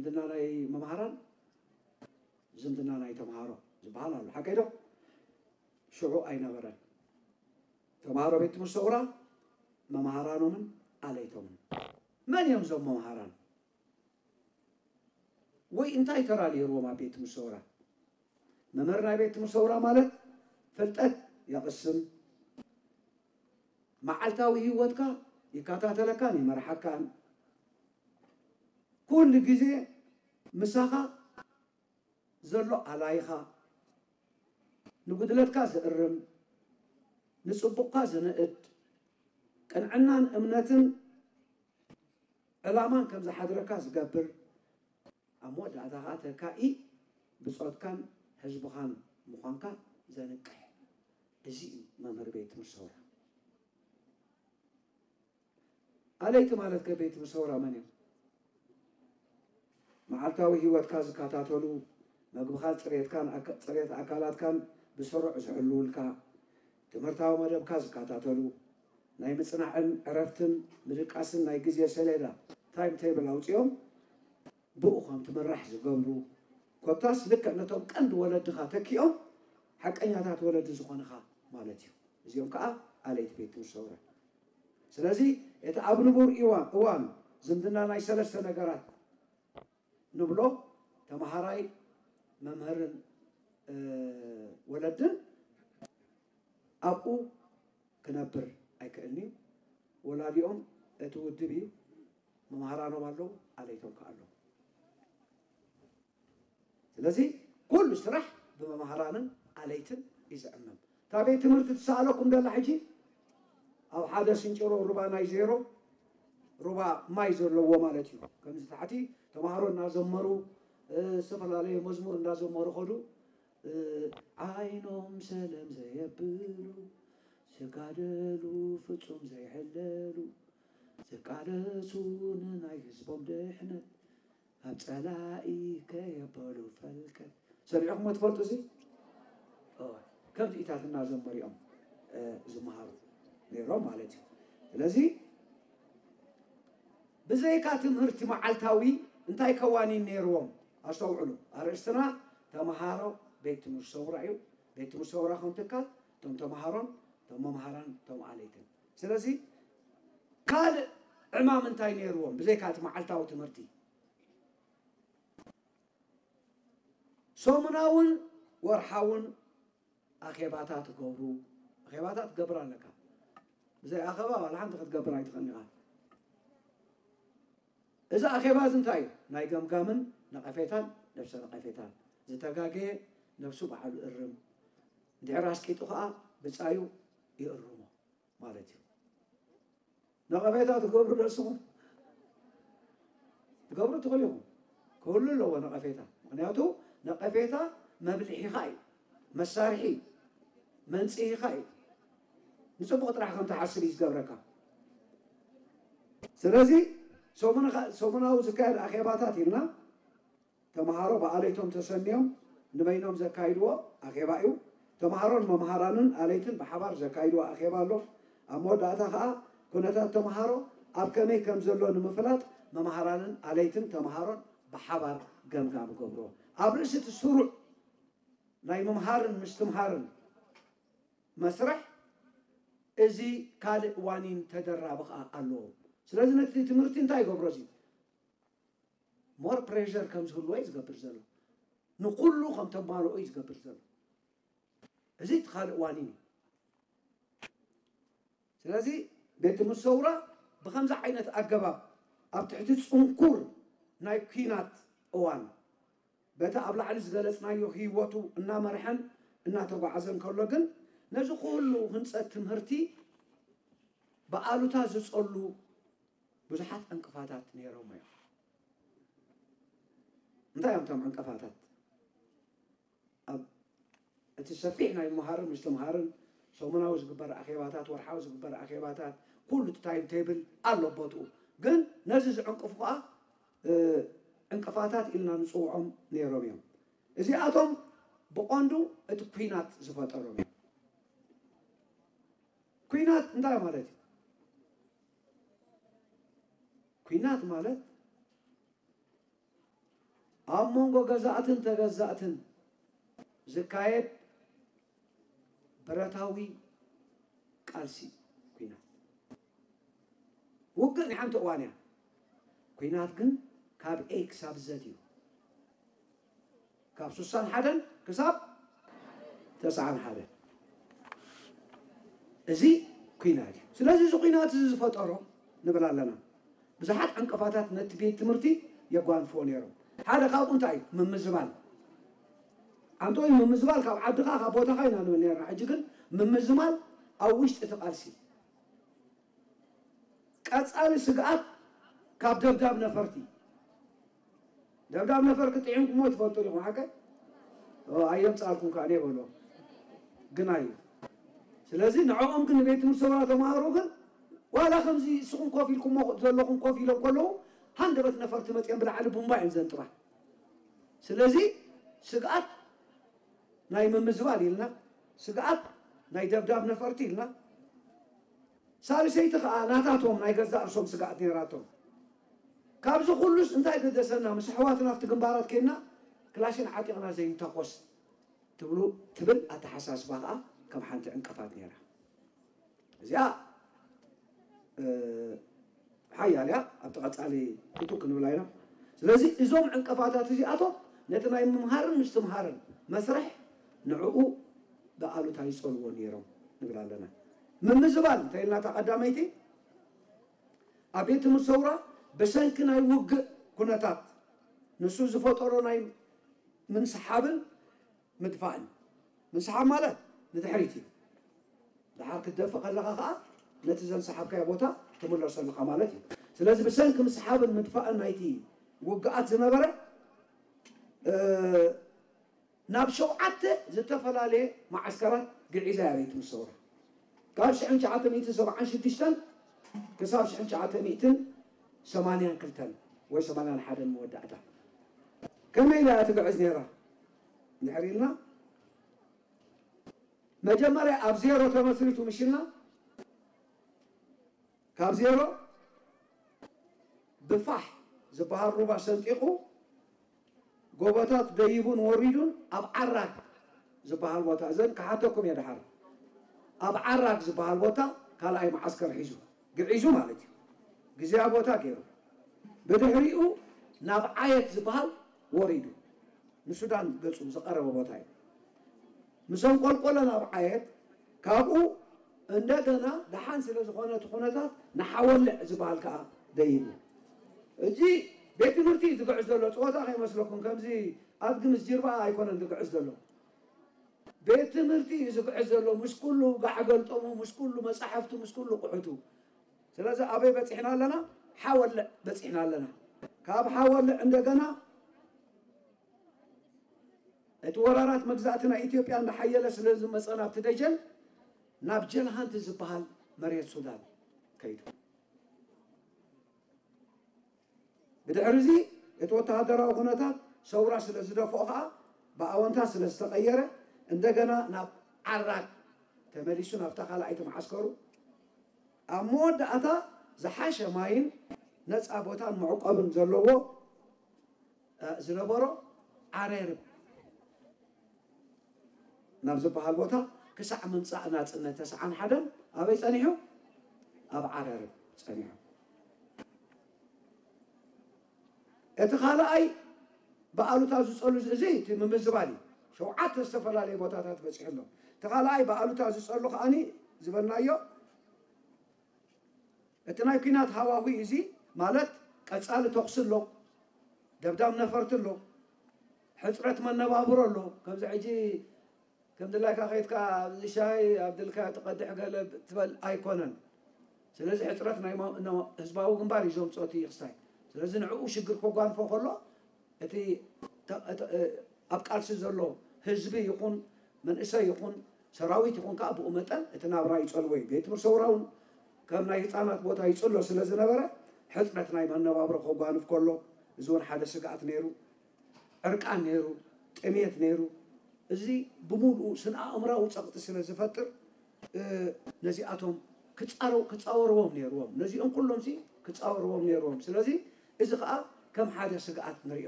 ዝምድና ናይ መምሃራን፣ ዝምድና ናይ ተምሃሮ ዝበሃል ኣሎ። ሓቀይ ዶ? ሽዑ ኣይነበረን። ተምሃሮ ቤት ትምህርቲ ሰውራ መምሃራኖምን ኣለይቶምን። መን እዮም እዞም መምሃራን? ወይ እንታይ ተራ ነይርዎም ኣብ ቤት ትምህርቲ ሰውራ? መምህር ናይ ቤት ትምህርቲ ሰውራ ማለት ፍልጠት የቕስም፣ መዓልታዊ ህይወትካ ይከታተለካን ይመርሓካን፣ ኩሉ ግዜ ምሳኻ ዘሎ ኣላይኻ፣ ንጉድለትካ ዝእርም፣ ንጽቡቕካ ዝንእድ፣ ቅንዕናን እምነትን ዕላማን ከም ዝሓድረካ ዝገብር፣ ኣብ መወዳእታ ኸኣ ተካኢ ብጾትካን ህዝብኻን ምዃንካ ዘንቅሕ። እዚ እዩ መምህር ቤት ትምህርቲ ሰውራ። ኣለይቲ ማለት ከ ቤት ትምህርቲ ሰውራ መን እዮም? መዓልታዊ ህይወትካ ዝከታተሉ፣ መግብኻ፣ ጽሬትካን ኣካ-፣ ጽሬት ኣካላትካን ብስሩዕ ዝሕልውልካ፣ ትምህርታዊ መደብካ ዝከታተሉ፣ ናይ ምጽናዕን ዕረፍትን ምድቃስን ናይ ግዜ ሰሌዳ፣ ታይም ቴብል፣ ኣውጺኦም ብኡ ከም ትምራሕ ዝገብሩ፣ ኮታስ ልክዕ ነቶም ቀንዲ ወለድኻ ተኪኦም ሓቀኛታት ወለዲ ዝኾንኻ ማለት እዩ። እዚኦም ከኣ ኣለይቲ ቤት ትምህርቲ ሰውራ። ስለዚ እቲ ኣብ ንቡር እዋን፣ እዋን ዝምድና ናይ ሰለስተ ነገራት ንብሎ፣ ተምሃራይ፣ መምህርን፣ እ፣ ወለድን ኣብኡ ክነብር ኣይክእልን እዩ። ወላዲኦም እቲ ውድብ እዩ፣ መምሃራኖም ኣለዉ፣ ኣለይቶም ከኣ ኣለዉ። ስለዚ ኩሉ ስራሕ ብመምሃራንን ኣለይትን እዩ ዝዕመም። እታ ቤት ትምህርቲ ትሰኣለኩም ደላ ሕጂ ኣብ ሓደ ስንጭሮ ሩባ ናይ ዜሮ፣ ሩባ ማይ ዘለዎ ማለት እዩ። ከምዚ ታሕቲ ተምሃሮ እናዘመሩ፣ እ፣ ዝተፈላለየ መዝሙር እንዳዘመሩ ኸዱ። እ፣ ዓይኖም ሰለም ዘየብሉ፣ ዝጋደሉ ፍጹም ዘይሕለሉ፣ ዝቃለሱ ንናይ ህዝቦም ድሕነት፣ ኣብ ጸላኢ ከየበሉ ፈልከት። ሰሚዕኹምዎ ትፈልጡ እዚ? እወ፣ ከምዚኢታት እናዘመሩ እዮም፣ እ፣ ዝመሃሩ ነይሮም ማለት እዩ። ስለዚ ብዘይካ ትምህርቲ መዓልታዊ እንታይ ከዋኒን ነይርዎም? ኣስተውዕሉ፣ ኣርእስትና ተምሃሮ ቤት ትምህርቲ ሰውራ እዩ። ቤት ትምህርቲ ሰውራ ከም ትካል፣ እቶም ተምሃሮን፣ እቶም መምሃራን፣ እቶም ኣለይትን። ስለዚ ካልእ ዕማም እንታይ ነይርዎም ብዘይካ እቲ መዓልታዊ ትምህርቲ? ሰሙናውን ወርሓውን ኣኼባታት ገብሩ። ኣኼባታት ትገብር ኣለካ። ብዘይ ኣኼባ ዋላ ሓንቲ ክትገብር ኣይትኽእልን ኢኻ። እዚ ኣኼባ እዚ እንታይ እዩ? ናይ ገምጋምን ነቐፌታን፣ ነብሰ ነቐፌታን። ዝተጋገየ ነብሱ ባዕሉ እርም። እንድሕር ኣስቂጡ ኸኣ ብጻዩ ይእርሞ ማለት እዩ። ነቐፌታ ትገብሩ ዶ ንስኹም? ትገብሩ ትኽእሉ ኢኹም። ክህሉ ኣለዎ ነቐፌታ። ምኽንያቱ ነቐፌታ መብልሒኻ እዩ፣ መሳርሒ መንጽሂኻ እዩ። ንጽቡቕ ጥራሕ ከም ትሓስብ እዩ ዝገብረካ። ስለዚ ሰሙንኻ-፣ ሰሙናዊ ዝካየድ ኣኼባታት ኢልና ተምሃሮ ብኣለይቶም ተሰንዮም ንበይኖም ዘካይድዎ ኣኼባ እዩ። ተምሃሮን መምሃራንን ኣለይትን ብሓባር ዘካይድዎ ኣኼባ ኣሎ። ኣብ መወዳእታ ኸኣ ኩነታት ተምሃሮ ኣብ ከመይ ከም ዘሎ ንምፍላጥ መምሃራንን ኣለይትን ተምሃሮን ብሓባር ገምጋም ገብርዎ። ኣብ ርእሲ እቲ ስሩዕ ናይ ምምሃርን ምስትምሃርን መስርሕ እዚ ካልእ ዋኒን ተደራቢ ኸኣ ኣለዎ። ስለዚ ነቲ ትምህርቲ እንታይ ይገብሮ እዚ? ሞር ፕሬሸር ከም ዝህልዎ እዩ ዝገብር ዘሎ። ንኹሉ ከም ተማልኦ እዩ ዝገብር ዘሎ። እዚ እቲ ካልእ ዋኒን እዩ። ስለዚ ቤት ትምህርቲ ሰውራ ብኸምዚ ዓይነት ኣገባብ ኣብ ትሕቲ ጽንኩር ናይ ኲናት እዋን በቲ ኣብ ላዕሊ ዝገለጽናዮ ህይወቱ እናመርሐን እናተጓዓዘን ከሎ ግን ነዚ ኩሉ ህንጸት ትምህርቲ ብኣሉታ ዝጸሉ ብዙሓት ዕንቅፋታት ነይሮም እዮም። እንታይ እዮም እቶም ዕንቅፋታት? ኣብ እቲ ሰፊሕ ናይ ምምሃርን ምስትምሃርን ሰሙናዊ ዝግበር ኣኼባታት፣ ወርሓዊ ዝግበር ኣኼባታት፣ ኩሉ እቲ ታይም ቴብል ኣሎ ቦትኡ። ግን ነዚ ዝዕንቅፉ ከኣ፣ እ፣ ዕንቅፋታት ኢልና ንጽውዖም ነይሮም እዮም። እዚኣቶም ብቐንዱ እቲ ኲናት ዝፈጠሮም እዮም። ኲናት እንታይ ማለት እዩ? ኲናት ማለት ኣብ መንጎ ገዛእትን ተገዛእትን ዝካየድ ብረታዊ ቃልሲ ኲናት። ውግእ ናይ ሓንቲ እዋን እያ። ኲናት ግን ካብ ኤ ክሳብ ዘድ እዩ። ካብ ስሳን ሓደን ክሳብ ተስዓን ሓደን። እዚ ኲናት እዩ። ስለዚ እዚ ኲናት እዚ ዝፈጠሮ ንብል ኣለና። ብዙሓት ዕንቅፋታት ነቲ ቤት ትምህርቲ የጓንፍዎ ነይሮም። ሓደ ካብኡ እንታይ እዩ? ምምዝባል። ኣንቶይ ምምዝባል ካብ ዓድኻ ካብ ቦታኻ ኢና ንብል ነርና። ሕጂ ግን ምምዝባል ኣብ ውሽጢ እቲ ቃልሲ። ቀጻሊ ስግኣት ካብ ደብዳብ ነፈርቲ። ደብዳብ ነፈርቲ ጥዒምኩሞ ትፈልጡ ዲኹም ሓቀ? ኣየምጻልኩም ከኣ እኔ በሎ። ግን ኣዩ። ስለዚ ንዕኦም ግን ንቤት ትምህርቲ ሰውራ ተማሃሮ ግን ዋላ ከምዚ እስኹም ኮፍ ኢልኩሞ ዘለኹም ኮፍ ኢሎም ከለዉ ሃንደበት ነፈርቲ መጽኦም ብላዕሊ ቡምባ እዮም ዘንጥባ። ስለዚ ስግኣት ናይ ምምዝባል ኢልና፣ ስግኣት ናይ ደብዳብ ነፈርቲ ኢልና፣ ሳልሰይቲ ከኣ ናታቶም ናይ ገዛእ ርእሶም ስግኣት ነይራቶም። ካብዚ ኩሉስ እንታይ ገደሰና? ምስ ኣሕዋትና ኣብቲ ግንባራት ኬድና ክላሽን ዓጢቕና ዘይንተኮስ ትብሉ ትብል ኣተሓሳስባ ከኣ ከም ሓንቲ ዕንቅፋት ነይራ። እዚኣ ሓያል እያ። ኣብቲ ቀጻሊ ክቱ ክንብላ ኢና። ስለዚ እዞም ዕንቅፋታት እዚኣቶም ነቲ ናይ ምምሃርን ምስትምሃርን መስርሕ ንዕኡ ብኣሉታ ይጸልዎ ነይሮም ንብል ኣለና። ምምዝባል እንተ ኢልና እታ ቀዳመይቲ ኣብ ቤት ትምህርቲ ሰውራ ብሰንኪ ናይ ውግእ ኩነታት ንሱ ዝፈጠሮ ናይ ምንስሓብን ምድፋእን። ምንስሓብ ማለት ንድሕሪት እዩ። ድሓር ክትደፍእ ከለኻ ከዓ ነቲ ዘንሰሓብካዮ ቦታ ትምለሶ ኣለኻ ማለት እዩ። ስለዚ ብሰንኪ ምስሓብን ምድፋእን ናይቲ ውግኣት ዝነበረ ናብ ሸውዓተ ዝተፈላለየ መዓስከራት ግዒዛ እያ ቤት ምሰውራ። ካብ ሽሕን ትሽዓተ ሚእትን ሰብዓን ሽዱሽተን ክሳብ ሽሕን ትሽዓተ ሚእትን ሰማንያን ክልተን ወይ ሰማንያን ሓደን መወዳእታ ከመይ ኢላ እያ ትግዕዝ ነይራ እንድሕር ኢልና፣ መጀመርያ ኣብ ዜሮ ተመስሪቱ ምሽልና፣ ካብ ዜሮ ብፋሕ ዝበሃል ሩባ ሰንጢቑ ጎቦታት ደይቡን ወሪዱን ኣብ ዓራግ ዝበሃል ቦታ፣ እዘን ክሓተኩም እየ ድሓር፣ ኣብ ዓራግ ዝበሃል ቦታ ካልኣይ መዓስከር ሒዙ ግዒዙ ማለት እዩ። ግዜያ ቦታ ገይሩ ብድሕሪኡ ናብ ዓየት ዝበሃል ወሪዱ ንሱዳን ገጹ ዝቐረበ ቦታ እዩ። ምስ ኣንቆልቆለ ናብ ዓየት ካብኡ እንደገና ደሓን ስለ ዝኾነ እቲ ኩነታት ንሓወልዕ ዝበሃል ከዓ ደይቡ። እዚ ቤት ትምህርቲ እዩ ዝግዕዝ ዘሎ። ፀወታ ከይመስለኩም፣ ከምዚ ኣድጊ ምስ ጅርባ ኣይኮነን ዝግዕዝ ዘሎ። ቤት ትምህርቲ እዩ ዝግዕዝ ዘሎ፣ ምስ ኩሉ ጋዕ ገልጠሙ፣ ምስ ኩሉ መፃሕፍቱ፣ ምስ ኩሉ ቁሑቱ። ስለዚ ኣበይ በፂሕና ኣለና? ሓወልዕ በፂሕና ኣለና። ካብ ሓወልዕ እንደገና እቲ ወራራት መግዛእቲ ናይ ኢትዮጵያ እንዳሓየለ ስለ ዝመፀ ናብቲ ደጀን ናብ ጀልሃንቲ ዝበሃል መሬት ሱዳን ከይዱ። ብድሕሪ እዚ እቲ ወተሃደራዊ ኩነታት ሰውራ ስለ ዝደፍኦ ከዓ ብኣወንታ ስለ ዝተቐየረ እንደገና ናብ ዓራግ ተመሊሱ ናብታ ካልኣይቲ መዓስከሩ ኣብ መወዳእታ ዝሓሸ ማይን ነፃ ቦታን መዕቆብን ዘለዎ ዝነበሮ ዓረርብ ናብ ዝበሃል ቦታ ክሳዕ ምምፃእ ናፅነት ተስዓን ሓደን ኣበይ ፀኒሑ? ኣብ ዓረርብ ፀኒሑ። እቲ ካልኣይ ብኣሉታ ዝፀሉ እዚ እቲ ምምዝባል እዩ። ሸውዓተ ዝተፈላለየ ቦታታት በፂሑ ኣሎ። እቲ ካልኣይ ብኣሉታ ዝፀሉ ከዓኒ ዝበልናዮ እቲ ናይ ኲናት ሃዋሁ እዚ ማለት ቀጻሊ ተኹሲ ኣሎ፣ ደብዳብ ነፈርቲ ኣሎ፣ ሕጽረት መነባብሮ ኣሎ። ከምዚ ሕጂ ከም ድላይካ ከይድካ ኣብዚ ሻሂ ኣብ ድልካ ትቐድሕ ገለ ትበል ኣይኮነን። ስለዚ ሕጽረት ናይ ማ- ና- ህዝባዊ ግንባር እዩ ዘምፅኦ እቲ ክስታይ። ስለዚ ንዕኡ ሽግር ከጓንፎ ከሎ እቲ ተ- ተ- ኣብ ቃልሲ ዘሎ ህዝቢ ይኹን መንእሰይ ይኹን ሰራዊት ይኹን ከዓ ብኡ መጠን እቲ ናብራ ይፀልዎ እዩ። ቤት ትምህርቲ ሰውራ እውን ከም ናይ ህፃናት ቦታ ይፅሎ ስለ ዝነበረ ሕፅረት ናይ መነባብሮ ከጓንፍ ከሎ እዚ እውን ሓደ ስግኣት ነይሩ። ዕርቃን ነይሩ፣ ጥሜት ነይሩ። እዚ ብምሉኡ ስነ ኣእምራዊ ፀቕጢ ስለ ዝፈጥር ነዚኣቶም ክፃረው ክፃወርዎም ነይርዎም። ነዚኦም ኩሎም ሲ ክፃወርዎም ነይርዎም። ስለዚ እዚ ከዓ ከም ሓደ ስግኣት ንሪኦ።